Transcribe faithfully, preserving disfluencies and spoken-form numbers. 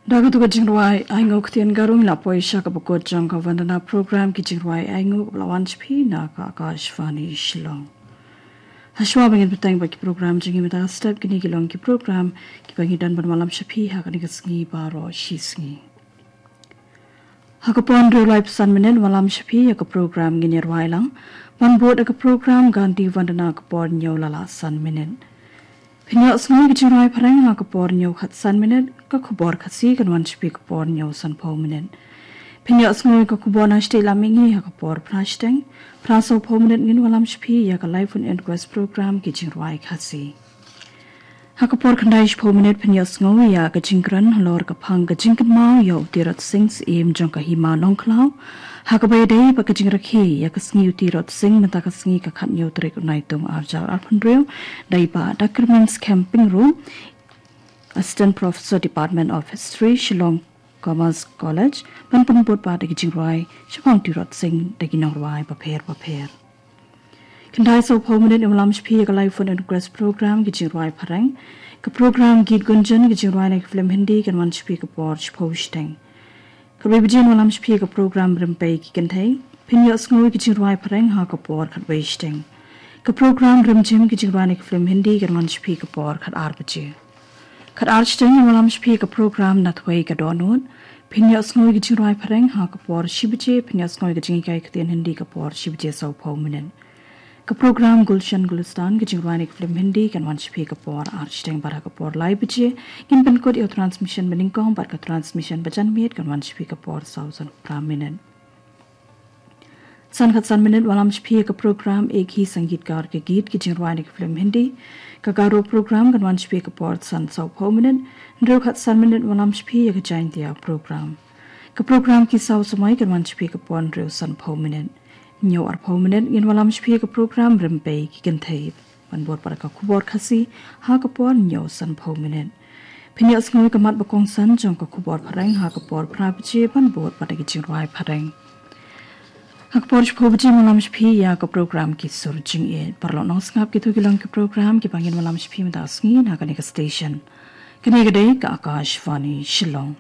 Da katu ka jingrwai ainguh ktien Garo ngi la poi sha kaba kut jong ka Vandana program, ki jingrwai ainguh kaba la wan sha phi na ka Akashvani Shillong. Hashwa ba ngin bteng bad ki program jong ngi mynta ka step, kine ki long ki program kiba ngi don ban wallam sha phi ha kane ka sngi baroh shi sngi. Ha ka por hynriew laiphew san minit wallam sha phi ïa ka program Ngin Ïarwai Lang, ban bud ïa ka program Gandhi Vandana ha ka por hynñiew la lah san minit. Phin ïohsngew ïa ka jingrwai phareng ha ka por hynñiew khatsan minit, ka khubor Khasi kan wan sha phi ka por hynñiew sanphew minit. Phin ïohsngew ïa ka khubor na shatei lam mihngi ha ka por phra shiteng, phra sawphew minit ngin wallam sha phi ïa ka Live on Inquest program, ki jingrwai Khasi. Ha ka por khyndai shiphew minit phin ïohsngew ïa ka jingkren halor ka phang ka jingkynmaw ïa u Tirot Sing, Syiem jong ka Hima Nongkhlaw, ha kaba ïadei bad ka jingrakhe ïa ka sngi u Tirot Sing mynta ka sngi ka khathynñiew tarik u Naitung arhajar arphew hynriew, da i Bah Doctor Minskhem Pyngrope, Assistant Professor, Department of History, Shillong Commerce College, ban pynbud pat ïa ki jingrwai shaphang u Tirot Sing da ki nongrwai bapher bapher. Khyndai sawphew minit ngin wallam sha phi ïa ka Live on Inquest program, ki jingrwai phareng. Ka program Geet Gunjan, ki jingrwai na ki film Hindi, kan wan sha phi ka por shiphew shiteng. Khatwei baje ngin wallam sha phi ïa ka program Rympei ki Kynthei. Phin ïohsngew ïa ki jingrwai phareng ha ka por khatwei shiteng. Ka program Rymjhim, ki jingrwai na ki film Hindi, kan wan sha phi ka por khatar baje. Khatar shiteng ngin wallam sha phi ïa ka program Nathwei ka Dohnud. Phin ïohsngew ïa ki jingrwai phareng ha ka por shi baje, phin ïohsngew ïa ka jinghikai ktien Hindi ka por shi baje sawphew minit. Ka program Gulshan Gulistan, ki jingrwai na ki film Hindi, kan wan sha phi ka por ar shiteng, bad ha ka por lai baje ngin pynkut ïa u transmission ba nyngkong, bad ka transmission ba janmiet kan wan sha phi ka por saw sanphew phra minit. San khatsan minit wallam sha phi ïa ka program Ek Hi Sangeetkar Ka Geet, ki jingrwai na ki film Hindi. Ka Garo program kan wan sha phi ïa ka por san sawphew minit. Hynriew khatsan minit wallam sha phi ïa ka Jaintia program. Ka program Ki Saw Samoi kan wan sha phi ïa ka por hynriew sanphew minit. Hynñiew arphew minit ngin wallam sha phi ïa ka program Rympei ki Kynthei, ban bud pat ïa ka khubor Khasi ha ka por hynñiew sanphew minit. Phin ïohsngew ïa ka mat ba kongsan jong ka khubor phareng ha ka por phra baje, ban bud pat ïa ki jingrwai phareng. Ha ka por shiphew baje ngin wallam sha phi ïa ka program Ki Sur Jingïeit. Paralok nongsngap, kito ki long ki program kiba ngin wallam sha phi mynta ka sngi na kane ka station. Kane ka dei ka Akashvani Shillong.